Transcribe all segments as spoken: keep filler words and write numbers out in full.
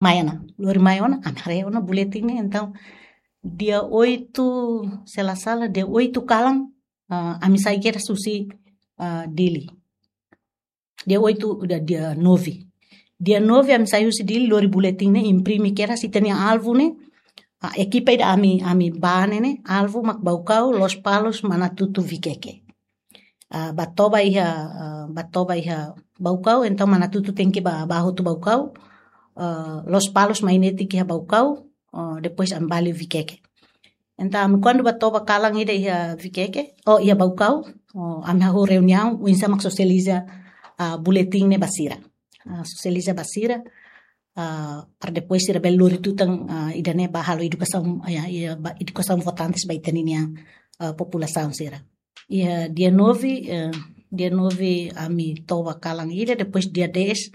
mai ona, lori mai ona, ami haree ona buletin ne'e. Entaun, dia oito, se la sala, dia oito kalan, ah, ami sai kedas husi, ah, Dili. Dia oito, dia, dia nove. Dia nove ami sai husi Dili, lori buletin ne'e, imprime kedas, ita-nia alvu ne'e, ah, ekipa ida ami, ami bá ne'e, ne'e, alvu mak Baucau, Lospalos, Manatuto, Viqueque. Ah, bá toba iha, ah, bá toba iha Baucau, entaun Manatuto tenke bá, bá hotu Baucau, ah, Lospalos mai netik iha Baucau, ah, depois ami bá liu Viqueque. Entaun, ami kuandu bá toba kalan ida iha Viqueque, oh, iha Baucau, oh, ami hahú reuniaun, oinsá mak sosializa, ah, buletin ne'e ba sira. Ah, sosializa ba sira, ah, para depois sira bele lori tutan, ah, ida-ne'e bá halo edukasaun, ya, ya, bá edukasaun votantes ba ita-nia, ah, populasaun sira. Iha dia nove, eh, dia nove ami toba kalan ida, depois dia dez,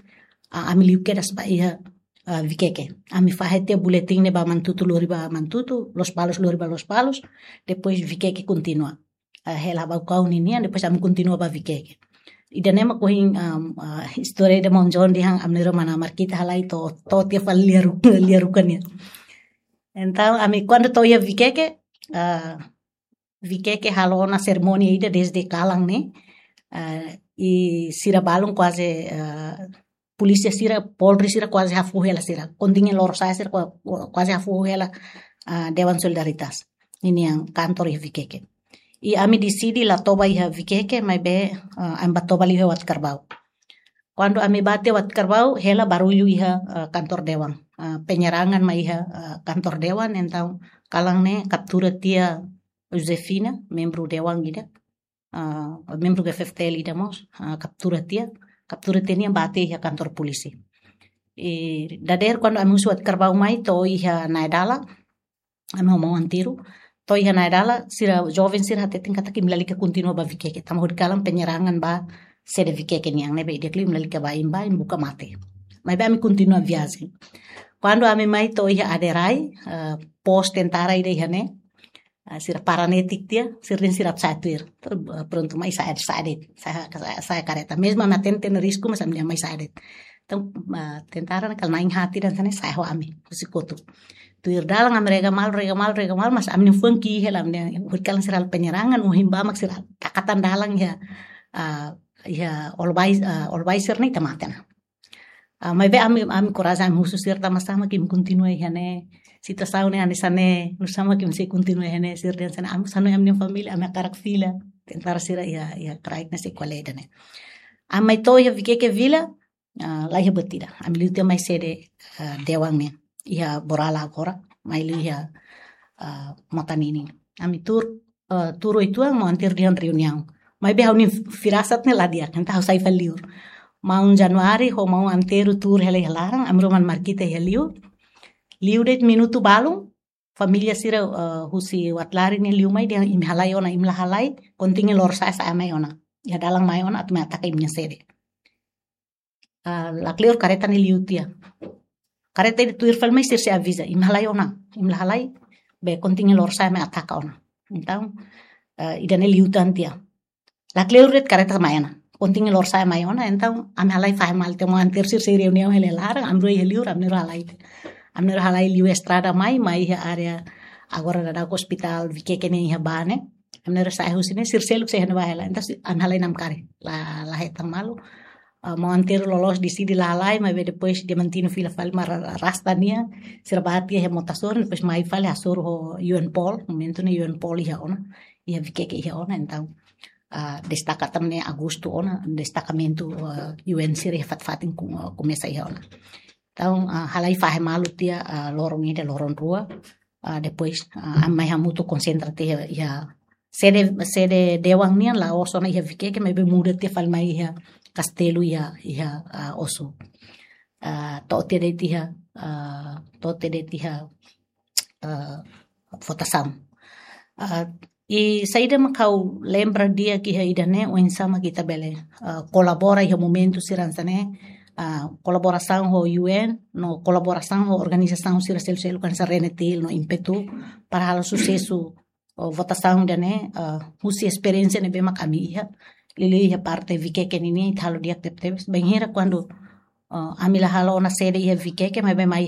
ah, ami liu kedas bá iha, ah, Viqueque. Ami fahe tiha buletin ne'e ba Manatuto, lori ba Manatuto, Lospalos, lori ba Lospalos, depois Viqueque kontinua. Ah, hela Baucau ninian, depois ami kontinua bá Viqueque. Ida-ne'e mak ohin, um, ah, istória ida maun John dehan ami-nia irmán Marquita halai to'o, to'o tiha fali lia ru-, lia Ruka nian. Entaun, ami kuandu to'o iha Viqueque, ah, Viqueque halo ona serimónia ida dezde kalan ne'e, ah, i sira balun kuaze, ah, polísia sira, polri sira kuaze hafoho hela sira. Kontingen Lorosa'e sira kua-, kuaze hafoho hela, ah, Dewan Solidaritas ninian kantor iha Viqueque. I ami deside la toba iha Viqueque, maibé, ah, ami bá toba liu iha Watkarbau. Kuandu ami bá tiha Watkarbau, hela barullu iha, ah, kantor dewan. Ah, penyerangan mai iha, ah, kantor dewan, entaun kalan ne'e kaptura tiha Josefina, membru dewan ida, ah, membru G F F T L ida mós, ah, kaptura tiha, kaptura tiha nian bá tiha iha kantor polísia. I dadeer kuandu ami husu Watkarbau mai to'o iha Naedala, ami ho maun Antero, to'o iha Naedala, sira joven sira hateten katak imi lalika kontinua bá Viqueque, tanba hodi kalan penyerangan ba sede Viqueque nian ne'ebé di'ak liu imi lalika bá, imi bá, imi buka mate. Maibé ami kontinua viajen. Kuandu ami mai to'o iha Aderai, eh, pos tentara ida iha ne'e, ah, sira para netik tiha, sira dehan sira sa'e tuir. Entaun, ah, prontu mai sa'e, sa'e de'it, sa'e, sa'e, sa'e kareta. Mezmu ami hatene risku, mas ami dehan mai sa'e de'it. Entaun, ah, tentara ne'e kala na'in haat ida hanesan ne'e sa'e ho ami, husi kotuk. Tuir dalan ami rega malu, rega malu, rega malu, mas ami-nia fuan ki'ik hela, ami dehan, hodi kalan sira halo penyerangan, ohin bá mak sira taka tan dalan iha, ah, iha Olobai, ah, Olobai sira-ne'e ita mate ona. Ah, maibé ami, ami korajen, ami husu sira tanba sá mak imi kontinua iha ne'e, situasaun ne'e hanesan ne'e, nu'usá mak imi sei kontinua iha ne'e, sira dehan hanesan ne'e, ami sanu ami-nia família, ami hakarak fila, tentara sira iha, iha kraik ne'e sei ko'alia ida-ne'e. Ami mai to'o iha Viqueque vila, ah, la iha buat ida. Ami liu tiha mai sede, ah, dewan ne'e, iha Borala agora, mai liu iha, ah, Motanini. Ami tuur, eh, tuur uitoan maun Antero dehan reuniaun. Maibé ha'u-nia firasat ne'e la di'ak, entaun ha'u sai fali liur. Maun Januário ho maun Antero tuur hela iha laran, ami rua maun Marquita iha liur. Liu de'it minutu balun, família sira, eh, husi Watlari ne'e liu mai dehan imi halai ona, imi la halai, kontingen Lorosa'e sa'e mai ona. Iha dalan mai ona, atu mai ataka imi-nia sede. Ah, lakleur kareta ne'e liu tiha. Kareta ida tuir fali mai sira sei aviza, imi halai ona, imi la halai, be kontingen Lorosa'e mai ataka ona. Entaun, eh, ida-ne'e liu tan tiha. Lakleur de'it kareta mai ona. Kontingen Lorosa'e mai ona, entaun ami halai fahe malu tiha maun Antero sira sei reuniaun hela iha laran, ami rua iha liur, ami rua halai. Ami rua halai liu estrada mai, mai iha área agora daudaun ospitál Viqueque ne'e iha bá ne'e. Ami rua sa'e husi ne'e, sira seluk sei iha ne'ebá hela. Entaun si-, ami halai namkari. La, la hetan malu. Ah, maun Antero loloos deside la halai, maibé depois Diamantino fila fali mak ra-, ra-, rasta nia, sira bá tiha iha Motassoro, depois mai fali hasoru ho U N Pol, momentu ne'e U N Pol iha ona, iha Viqueque iha ona, entaun, ah, destaka tan ne'e Agostu ona, destakamentu, ah, U N sira iha fatin-fatin ku-, ah, komesa iha ona. Entaun, ah, halai fahe malu tiha, ah, loron ida, loron rua, ah, depois, ah, ami mai hamutuk konsentra tiha iha sede, sede dewan nian la'ós ona iha Viqueque, maibé muda tiha fali mai iha kastelu iha, iha, ah, Ossu. Ah, to'o tiha de'it iha, ah, to'o tiha de'it iha, ah, votasaun. Ah, i saida mak ha'u lembra di'ak iha ida-ne'e, oinsá mak ita bele, ah, kolabora iha momentu sira hanesan ne'e, ah, kolaborasaun ho U N, no kolaborasaun ho organizasaun sira seluk-seluk hanesan Renetil, no Impetu, para halo susesu ho votasaun ida-ne'e, ah, husi esperiénsia ne'ebé mak ami iha, liuliu iha parte Viqueque nian, ita halo di'ak tebetebes. Bainhira kuandu Oh, ami la halo ona sede iha Vikeke, maibé mai